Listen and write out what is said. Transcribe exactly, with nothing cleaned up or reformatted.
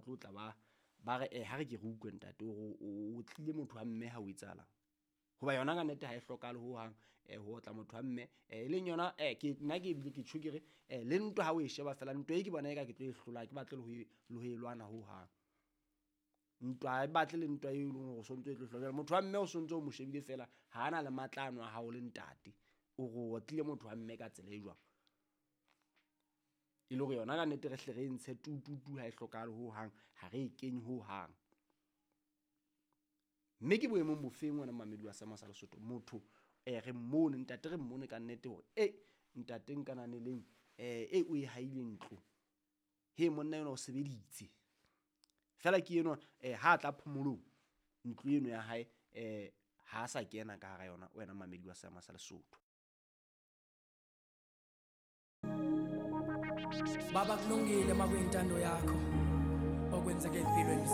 ba tlo tla ba ba re eh ha re ke re utlwe ntate hore o tlile motho wa mme ha o etsahalang. Hoba yona ka nnete ha e hlokahale hohang ho otla motho wa mme. E leng yona ke nna ke ebile ke tjho ke re le ntwa ha o e sheba fela ntwa e ke bona eka ke tlo e hlola, ha ke batle le ho e le ho e lwana hohang. Ntwa ha e batle le ntwa e leng hore o sontso e tlo hlola. Jwale motho wa mme o sontso o mo shebile feela ha ana le matla ano a hao le ntate. O re o otlile motho wa mme ka tsela e jwang? E le hore yona ka nnete re hle re e ntshe tu tu tu ha e hlokahale hohang, ha re e kenye hohang. Mme ke boemong bofeng wena momamedi wa seema sa Lesotho? Motho re mmone ntate, re mmone kannete hore e ntate Nkananeleng e o e haile ntlo. He monna enwa o sebeditse feela ke enwa ha tla phomolong ntlo eno ya hae ha sa kena ka hara yona wena momamedi wa seema sa Lesotho. Baba kulungile makuyintando yakho okwenzeka empilweni.